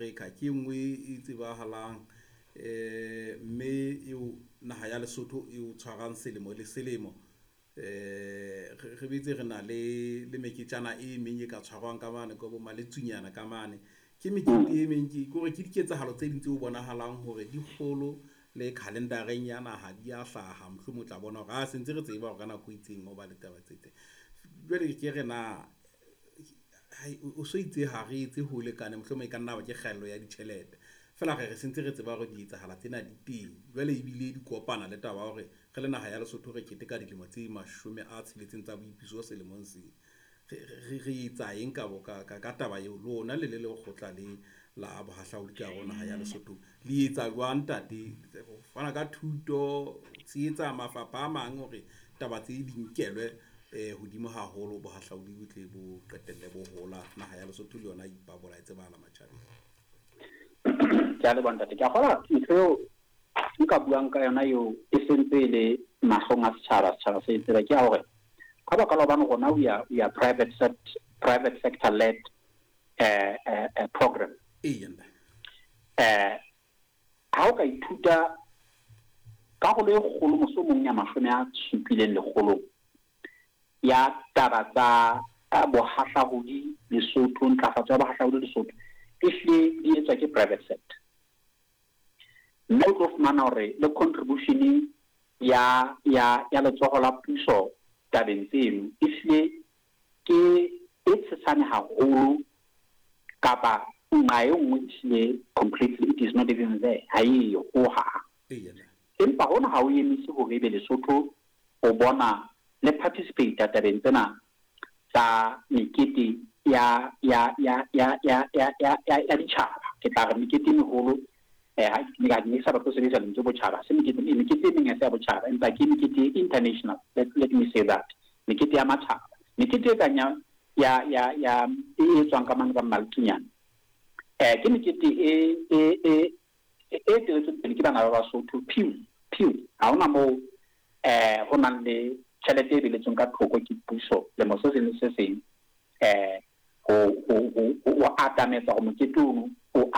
Africa ke e nngwe e tsebahalang mme eo naha ya Lesotho e o tshwarang selemo le selemo. Re betse re na le meketjana e meng e ka tshwarwang ka mane ka bo maletsunyana ka mane. Ke mekete e meng, ke kore ke diketsahalo tse ding tse bonahalang hore di kgolo le calendar-eng ya naha di a hlaha. Mohlomong o tla bona hore a sentse re tseba hore ka nako e itseng ho ba le taba tse itseng. Jwale ke re na o so itse ha re etse ho lekane, mohlomong e ka nna ba ke kgaello ya ditjhelete feela re sentse re tseba hore di etsahala tsena di teng. Jwale ebile di kopana le taba ya hore re le naha ya Lesotho re keteka dilemo tse 60 tsa boipuso selemong sena. Re etsa eng ka bo ka taba eo? Lona le le lekgotla le la bohahlaudi ka hare ho naha ya Lesotho, le etsa jwang ntate? Ho fana ka thuto, tshehetsa mafapha a mang hore taba tse di nkelwe hodimo haholo, bohahlaudi bo tle bo qetelle bo hola, naha ya Lesotho le yona ipabola e tsebahala matjhabeng. Ke a leboha ntate. Ke a kgolwa ntho eo nka buang ka yona eo e sentse e le mahlong a setjhaba, setjhaba se e tseba, ke ya hore ka baka la hobane rona we are private sector led program. Eya ntate. Ha o ka ithuta karolo e kgolo mohlomong ya 70 lekgolong ya taba tsa bohahlaudi Lesotho, ntlafatso ya bohahlaudi Lesotho, ehlile di etswa ke private sector. Mme o tlo fumana hore le contribution ya letsoho la puso tabeng tseno ehlile ke e tshesane haholo, kapa nqa e nngwe ehlile completely it is not even there, ha eyo hohang. Eya ntate. Empa hona ha o emise hore ebe Lesotho o bona le participate tabeng tsena tsa mekete ya ditjhaba. Ke tla re mekete e meholo, ha ke ne sa batle ho sebedisa lentswe botjhaba, se mekete e meng ha se ya botjhaba, empa ke mekete international, let me say that, mekete ya matjhaba, mekete e kang ya e etswang ka mane ka Maltsunyane, ke mekete e eteletsweng pele ke bana ba Basotho piu piu. Ha hona moo ho nang le tjhelete e beletsweng ka thoko ke puso lemo se seng le se seng ho atametsa ho mokete ono.